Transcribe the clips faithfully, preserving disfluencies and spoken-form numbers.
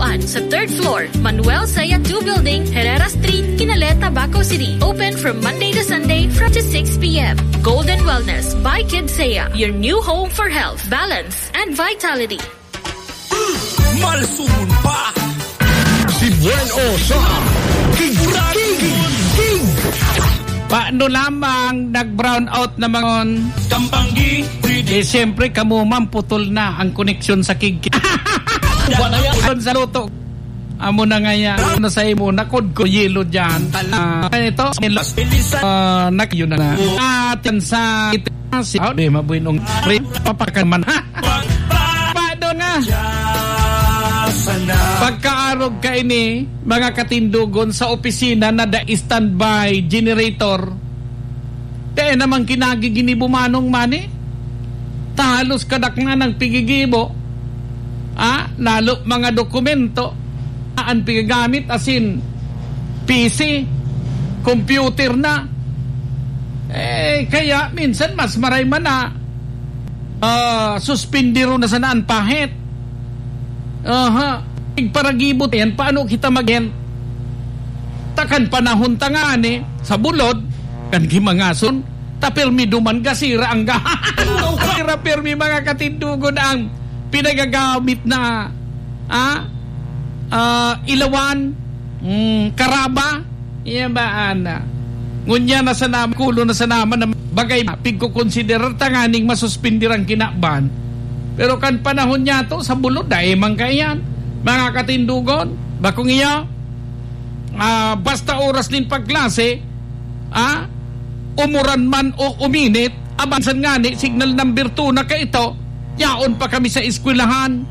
Sa third floor, Manuel Saya two Building, Herrera Street, Kinaleta, Baco City. Open from Monday to Sunday from to six p m. Golden Wellness by Kid Saya, your new home for health, balance, and vitality. Malsumon pa. Si Buen O sa King, King, King. Paano lamang nag-brown out na mga on? Kampanggi, Eh, siyempre, kamo man, putol na ang koneksyon sa King. Wala yan. Doon sa luto. Amo na nga yan. Ano sa imo? Nakod ko, yelo dyan. Ah, ito, ah, nak-, yun na na. Atin sa, ito, si, oh, di, mabuinong, papakan man. Paano nga? Pagkaarog ka ini, mga katindogon, sa opisina na da standby generator. Kaya namang kinagiginibo manong mani. Tahalos kadakna ng pigigibo. Ah, lalo mga dokumento. An pigagamit asin P C, computer na. Eh, kaya minsan mas maray man na, ah, suspindiro na sana an pahit. Aha. Igparagibo yan, paano kita mag-, ta kan panahon ta ngani, sa bulod, kan gimangason, ta pirmi duman gasira ang ga-, sira pirmi mga katindogon ang pinagagamit na, ah, ah, ilawan, mm, karaba, iya ba, ana? Ngunyan na sana, kulo na sana man na bagay, pigkokonsiderar ta nganing masuspindir ang kinaban. Pero kan panahon niya to, sa bulod, dai man kaiyan. Mga katindogon, bakong iya, ah, basta oras nin pagklase, ah, umuran man o uminit, abansan ngani, signal number two na kaito, yaon pa kami sa eskwelahan.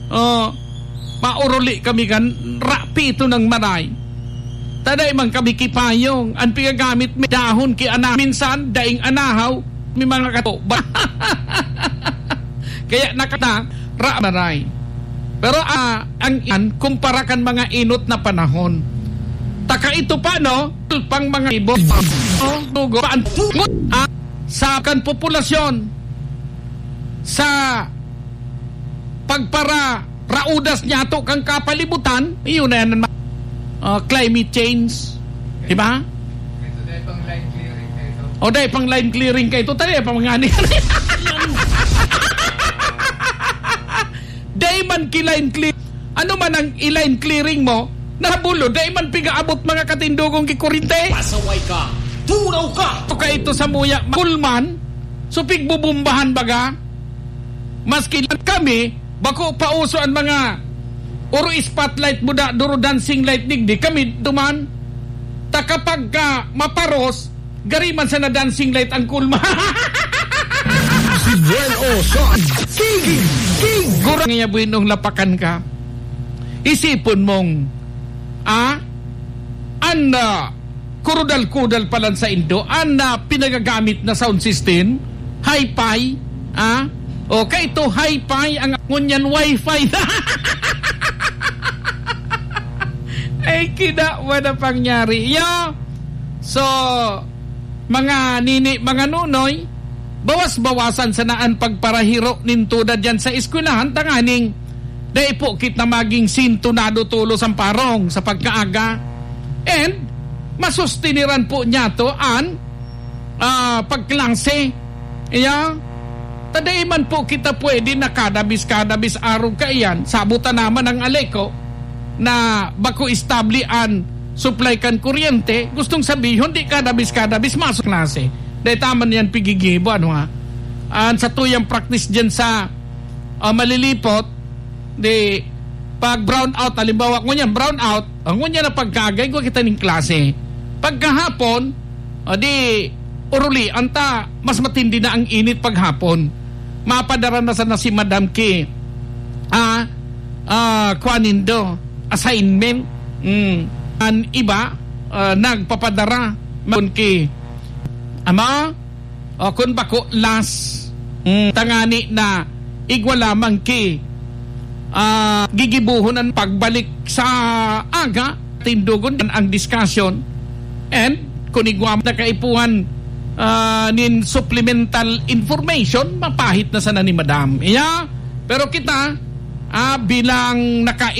Oh, mauruli kami kan rapi ito ng maray. Taday man kami kipayong, ang pigagamit mi dahon ki ana-, minsan, daing anahaw, may mga kato. Kaya nakata, ra-, maray. Pero, ah, ang iyan, kumpara kan mga inot na panahon. Taka ito pa, no? Pang mga ibo. Oh, dugo, paan, ah, sa kan populasyon, sa pagpara-, raudas niya to kang kapalibutan, iyon na yan, ah, climate change. Di ba? Ito, dahil pang line clearing na ito. O, dahil pang line clearing ka ito, tayo, pang ngani. Dai man ki-line clear. Ano man ang i-line clearing mo, nabulo, dai man pigaabot mga katindogong kikurinte. Pasaway ka, tunaw ka. Ito ka ito sa muya, kulman, so pigbubumbahan baga. Maski lang kami, bako pauso ang mga oro spotlight mo da, duro dancing light digdi, kami duman. Ta kapag ka maparos, gari man sana dancing light ang kulma. Si Buen O sa King, King. Gurang niya buinong lapakan ka. Isipon mong, ah, an, ah, kurudal-kudal pa lang sa Indo, an, ah, pinagagamit na sound system, hi-fi, ah, o kaito hi-fi, ang ngunyan wifi. Ay, kinawa na pangyari. Yo! So, mga nini, mga nunoy, bawas-bawasan sana an pagparahiro nin tuda diyan sa eskwelahan, tanganing dai po kita maging sintonado tolos an parong sa pagkaaga. And, masustiniran po niya to an ah, pagklase. Iya, ta dai man po kita pwede na kada bis, kada bis arog kaiyan, sabot ta naman ang Aleco na bako establi an supply kan kuryente, gustong sabihon, di kada bis, kada bis masok klase. Dai ta man yan pigigibo, ano ha? An sa tuyang practice dyan sa, ah, Malilipot, di, pag brown out, halimbawa, ngunyan, brown out, ang ngunyan na pagkagay, gwa kita ning klase. Pagkahapon, o di, urulian ta, mas matindi na ang init paghapon. Mapadara na sana si Madam ki, ah, ah, kuan nindo, assignment. Mm. An iba, ah, nagpapadara, maon ki, ama, o kun bako, las. Mm, tangani na igwa lamang ki, ah, gigibohon an pagbalik sa aga, tindogon an discussion. And kun igwa man na kaipuhan, ah, nin supplemental information, mapahit na sana ni Madam. Iya, pero kita, ah, bilang naka-